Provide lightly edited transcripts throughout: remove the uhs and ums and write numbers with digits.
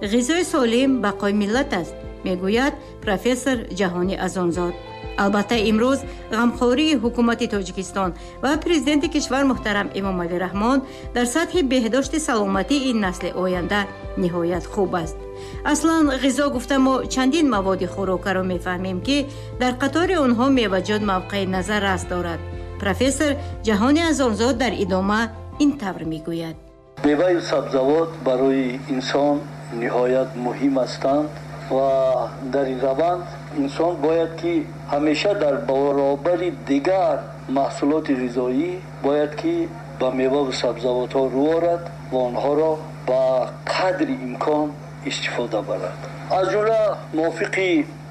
Ғизои солим бақои миллат аст, мегӯяд профессор Ҷаҳонӣ Азонзод. Албатта, имрӯз ғамхории ҳукумати Тоҷикистон ва президенти кишвар муҳтарам Эмомалӣ Раҳмон дар сатҳи беҳдошти саломатии ин насли оянда ниҳоят хуб аст. Аслан ғизо гуфта мо чандин маводи хӯрокаро мефаҳмем, ки дар қатори онҳо меваҷот мавқеи назаррас дорад. Профессор Ҷаҳони Азонзод дар идома ин тавр мегӯяд: Меваю сабзавот барои инсон ниҳоят муҳим ҳастанд ва дар ин раванд инсон бояд ки ҳамеша дар баробари дигар маҳсулоти ғизоӣ бояд ки ба меваву сабзавотҳо рӯ орад ва онҳоро ба қадри имкон истифода барад. Аз ҷумла мувофиқи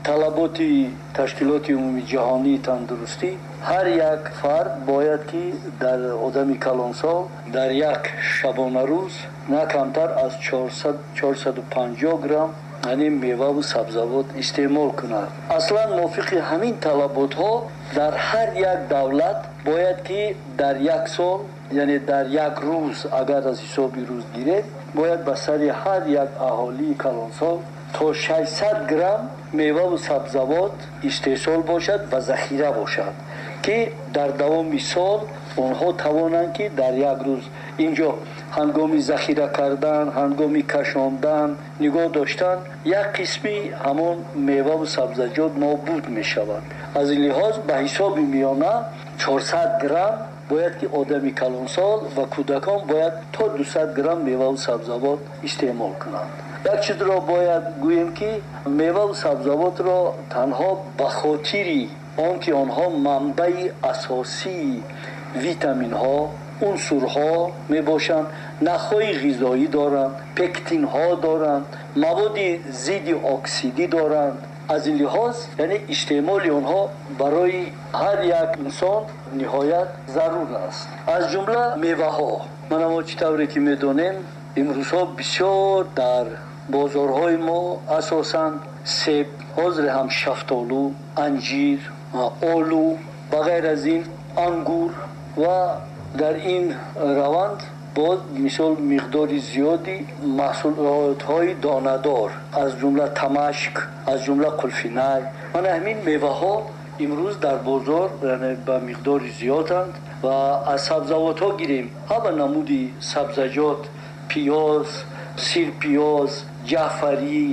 талаботи Ташкилоти Умумиҷаҳонии тандурустӣ, ҳар як фард бояд ки дар одами калонсол дар як шабонарӯз на камтар аз 450 грамм, яъне меваву сабзавот истеъмол кунад. Аслан мувофиқи ҳамин талаботҳо дар ҳар як давлат бояд ки дар як сол, яъне дар як рӯз, агар аз ҳисоби рӯз гирем, бояд ба сари ҳар як аҳолии калонсол то 600 грамм меваву сабзавот истеҳсол бошад ва захира бошад, ки дар давоми сол онҳо тавонанд ки дар як рӯз инҷо ҳангоми захира кардан, ҳангоми кашондан, нигоҳ доштан як қисми ҳамон меваву сабзаҷот нобуд мешавад. Аз ин лиҳоз ба ҳисоби миёна 400 грамм бояд ки одами калонсол ва кӯдакон бояд то 200 грамм меваву сабзавот истеъмол кунанд. Як чизро бояд гӯем, ки меваву сабзавотро танҳо ба хотири он ки онҳо манбаи асосии витаминҳо, унсурҳо мебошанд, нахҳои ғизоӣ доранд, пектинҳо доранд, маводи зидди оксидӣ доранд, аз ин лиҳоз яъне истеъмоли онҳо барои ҳар як инсон ниҳоят зарур аст. Аз ҷумла меваҳо, мана мо чӣ тавре ки медонем, имрӯзҳо бисёр дар бозорҳои мо асосан себ, ҳозир ҳам шафтолу, анҷир, олу, ба ғайр аз ин ангур ва дар ин раванд боз мисол миқдори зиёди маҳсулотҳои донадор, аз ҷумла тамашк, аз ҷумла қулфинай, мана ҳамин меваҳо имрӯз дар бозор яъне ба миқдори зиёданд. Ва аз сабзавотҳо гирем, ҳама намуди сабзаҷот, пиёз, сирпиёз, ҷаъфарӣ,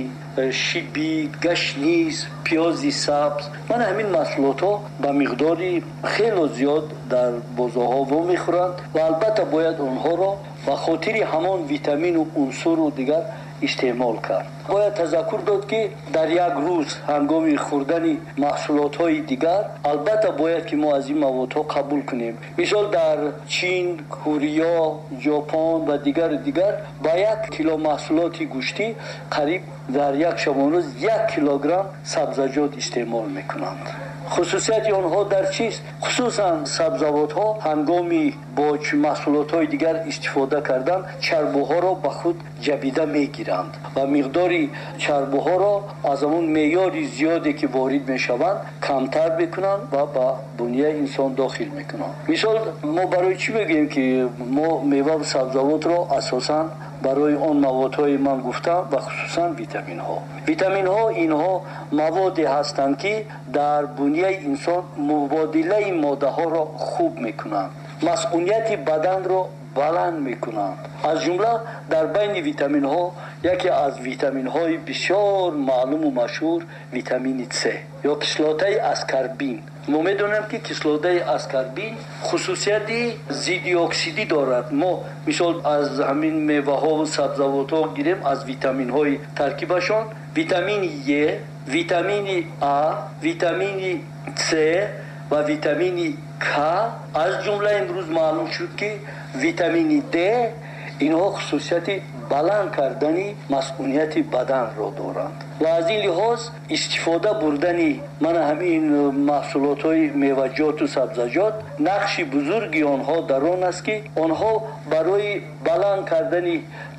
шибит, гашниз, пиёзи сабз, мана ҳамин маҳсулотҳо ба миқдори хело зиёд дар бозорҳо вомехӯранд ва албатта бояд онҳоро ба хотири ҳамон витамину унсуру дигар истеъмол кард. Бояд тазаккур дод, ки дар як рӯз ҳангоми хӯрдани маҳсулотҳои дигар албатта бояд ки мо аз ин маводҳо қабул кунем. Мисол, дар Чин, Корея, Ҷопон ва дигару дигар ба 1 кило маҳсулоти гӯштӣ қариб дар як шабонрӯз 1 килограмм сабзаҷот истеъмол мекунанд. Хусусияти онҳо дар чист? Хусусан сабзавотҳо ҳангоми бо маҳсулотҳои дигар истифода кардан чарбуҳоро ба худ ҷабида мегиранд ва миқдори чарбуҳоро аз ҳамон меъёри зиёде ки ворид мешаванд камтар мекунанд ва ба бунияи инсон дохил мекунанд. Мисол, мо барои чӣ мегӯем, ки мо меваву сабзавотро асосан барои он маводҳое ман гуфтам ва хусусан витаминҳо. Витаминҳо инҳо маводе ҳастанд, ки дар бунияи инсон мубодилаи моддаҳоро хуб мекунанд, масъунияти баданро баланд мекунанд. Аз ҷумла дар байни витаминҳо яке аз витаминҳои бисёр маълуму машҳур витамини С ё кислотаи аскорбин. Мо медонем, ки кислотаи аскорбин хусусияти зиддиоксидӣ дорад. Мо мисол аз ҳамин меваҳову сабзавотҳо гирем, аз витаминҳои таркибашон витамини Е, витамини А, витамини С ва витамини К, аз ҷумла имрӯз маълум шуд, ки витамини Д, инҳо хусусияти баланд кардани масъунияти баданро доранд. Ва аз ин лиҳоз истифода бурдани мана ҳамин маҳсулотҳои меваҷоту сабзаҷот, нақши бузурги онҳо дар он аст, ки онҳо барои баланд кардани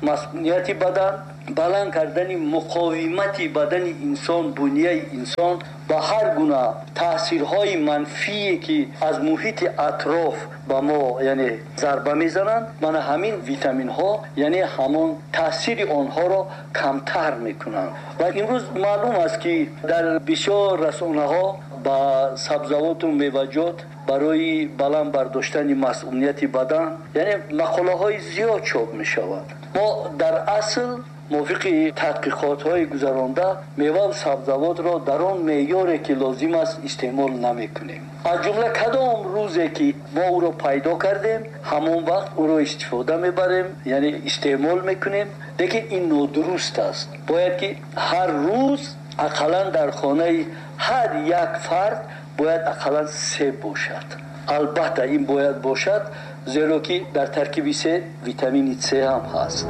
масунияти бадан, баланд кардани муқовимати бадани инсон, бунияи инсон ба ҳар гуна таъсирҳои манфие, ки аз муҳити атроф ба мо, яъне, зарба мезананд, мана ҳамин витаминҳо, яъне, ҳамон таъсири онҳоро камтар мекунанд. Ва имрӯз маълум аст, ки дар бисёр расонаҳо ба сабзавоту меваҷот барои баланд бардоштани масунияти бадан, яъне, мақолаҳои зиёд чоп мешавад. Мо дар асл мувофиқи тадқиқотҳои гузаронда меваву сабзавотро дар он меъёре, ки лозим аст, истеъмол намекунем. Аз ҷумла кадом рӯзе ки мо ӯро пайдо кардем, ҳамон вақт ӯро истифода мебарем, яъне истеъмол мекунем. Лекин ин нодуруст аст. Бояд ки ҳар рӯз ақаллан дар хонаи ҳар як фард бояд ақаллан себ бошад. Албатта, ин бояд бошад, зеро ки дар таркиби себ витамини С ҳам ҳаст.